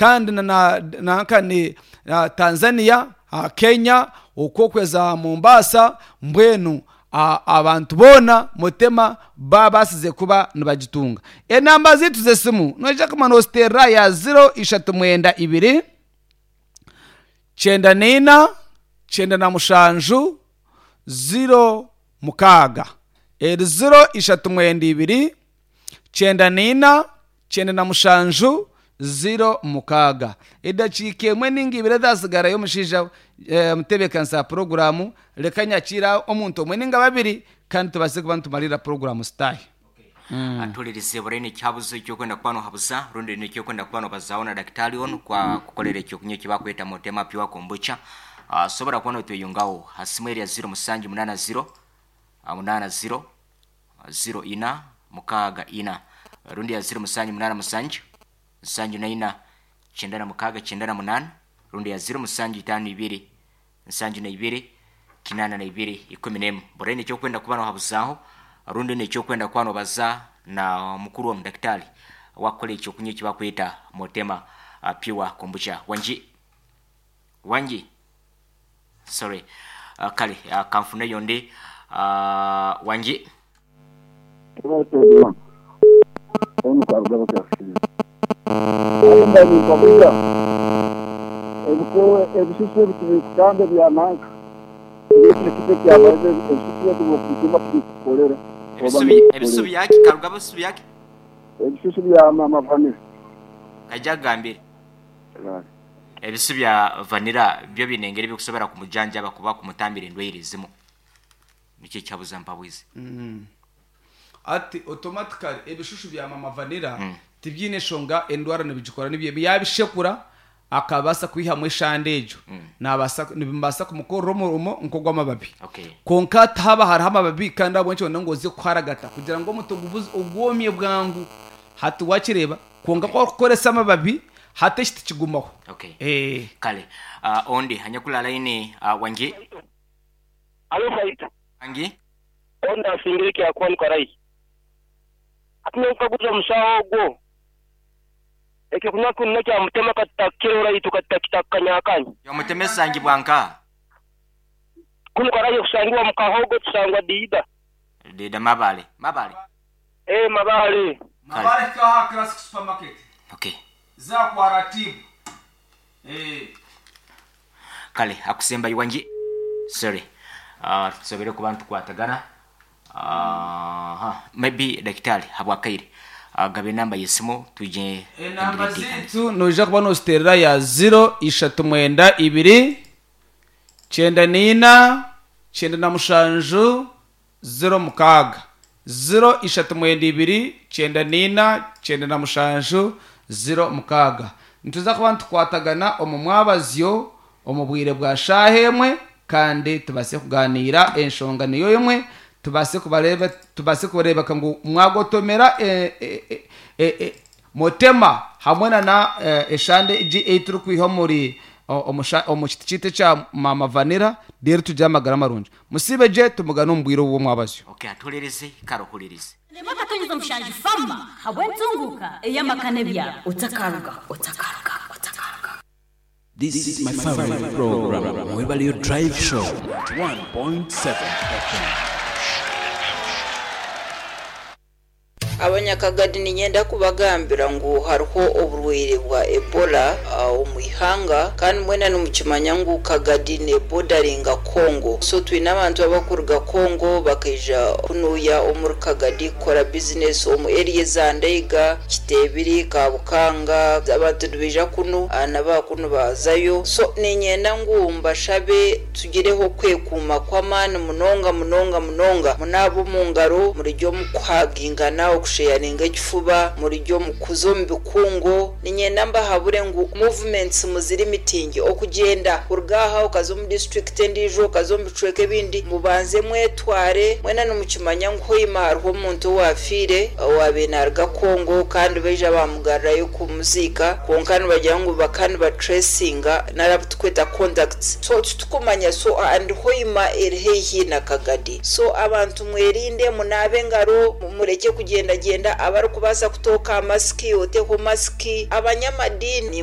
Kandi na nanka ni Tanzania, Kenya, okwo okweza Mombasa, mbwenu abantu boona Mutema babaasize kuba nibagitunga. Enamba zaitu z'esimu noija kuguma nooziteerera ya ziro ishatu mwenda ibiri, kyenda naina, 97, 06. Eri ziro ishatu mwenda ibiri, 94, 97, 06. Edakiika emwe nainga ibiri ezaatsigarayo omushaija omutebeekanisa wa puroguraamu, reka nyakiire omuntu omwe nainga babiri kandi tubaase kuba nitumariirira puroguraamu zitaahe. Atuhuririze buri ekihabuzo eky'okwenda kuba nohabuza rundi n'eky'okwenda kuba nobazaaho na dakitaali onu kwa kukolera ekyokunywa eki bakweta Motema Pure Kombucha. Osobora kuba notweyungaho ha simu eri ya 0780 80 04 64 rundi ya 0787 74 96 98 rundi ya 0752 72 82 11. Buri eky'okwenda kuba nohabuzaho rundi n'ekyokwenda kuba nobaza na mukuru onu dakitaali owakukora ekyokunywa eki bakweta Motema Pure Kombucha. Wangi? Wangi? Sorry. Kale kanfuneyo ondi. Wangi? Ebisusu ebi tibikutamba ebya nanka ebi ekyo ebisusu ebi obikutuma tibikukorera. Ebisusu byaki? Karuga bisusu byaki? Ebisusu bya mama Vanilla. Kaija akugambire. Ebisusu bya Vanilla byo biine engeri ebirikusobora kumujanjaba kuba kumutambira endwaire ezimu. Nikyo ekyabuza mpabwize. Hati automatically ebishushu bya mama Vanilla tibyine nshonga endwara nibigikora nibyo yabishekura akabaasa kwihamu eshande egyo nabaasa nibibaasa kumukorera omurimo nk'ogw'amababi. Okay. Kwonka hati haaba hariho amababi kandi ahabw'enki orenda ngu oze kuharagata kugira ngu omuti ogubuze ogwomye bwangu. Hati wakireeba kwonka ku orikukoresa amababi hati eki tikigumaho. Okay. Eh. Kale ondi anyakuli aha layini wangi? Alo Faita. Wangi? Ondi asingire ekya Karayi. Hati nyowe nkaguza omusawo ogwo, ekyokunywa kunu nekya mutema katutakukirora itwe katutakitaka kanyakanya. Omutema esangibwa nkaha? Kunu Karayi okusangibwa mu Kahogo tusangwa Diida. Diida Mabale. Mabale? Ee Mabale. Mabale hika aha Classic Supermarket. Okay. Za kwa Ratibu. Eh. Kale akusembayo wangi? Sorry. Tusobere kuba nitukwatagana. Aha. Maybe dakitari habwakaire. Gaba enamba y'esimu twije Enamba zaitu noija kuba nooziteerera ya ziro ishatu mwenda ibiri, 94, 97, 06. Ziro ishatu mwenda ibiri, 94, 97, 06. Nituza kuba nitukwatagana omu mwabazyo omu bwire bwa shaaha emwe kandi tubaase kugaaniira enshonga niyo emwe tubaase kubareeba tubaase kureebeka ngu mwagotomera e, e, e, e, e, motema hamwe na na eshande egi ei turikwiha omuri omu kiti kyaitu ekya maama vanilla reero tugire amagara marungi. Musiibe gye tumugane omu bwire obw'omwabazyo. Okay, atuhuririze, ikara ohuririze. Rema Akatonyeza Mushanju Farmer habw'entunguuka ey'amaka n'ebyaro. Otakaruga, otakaruga, otakaruga. This is my favorite program, Mwebale Drive Show, 1.7 FM. Abanyakagadi niinyenda kubagambira ngu hariho oburwaire bwa Ebola omu ihanga kandi mwena nimukimanya ngu Kagadi neebodaringa Congo. So twine abantu abarikuruga Congo bakaija kunuuya omuri Kagadi kukora bizinesi omu eriya eza Ndeiga, Kiteebiri, Kabukanga, abantu nibaija kunu na baakunu baazayo. So niinyenda ngu mbashabe tugireho okwekuuma kw'amaani munonga munonga munonga. Munaabe omu ngaro, murugye omu kuhagingana, okusheyaringa ekifuba, murugye omu kuza omu bikungu. Niinyenda mbahabure ngu movements muzirimitinge, okugyenda kuruga aha okaza omu disiturikiti endiijo, okaza omu bicweka ebindi, mubanze mwetware. Mwena nimukimanya ngu Hoima hariho omuntu owaafiire owaabaire naaruga Congo kandi baija baamugarurayo kumuziika kwonka nibagira ngu bakaba nibatracinga nari abu turikweta contacts so titukumanya so and Hoima eri haihi na Kagadi so abantu mwerinde munaabe engaro murekye kugyendagyenda abarikubaasa kutooka aha masiki oteho masiki abanyamadiini.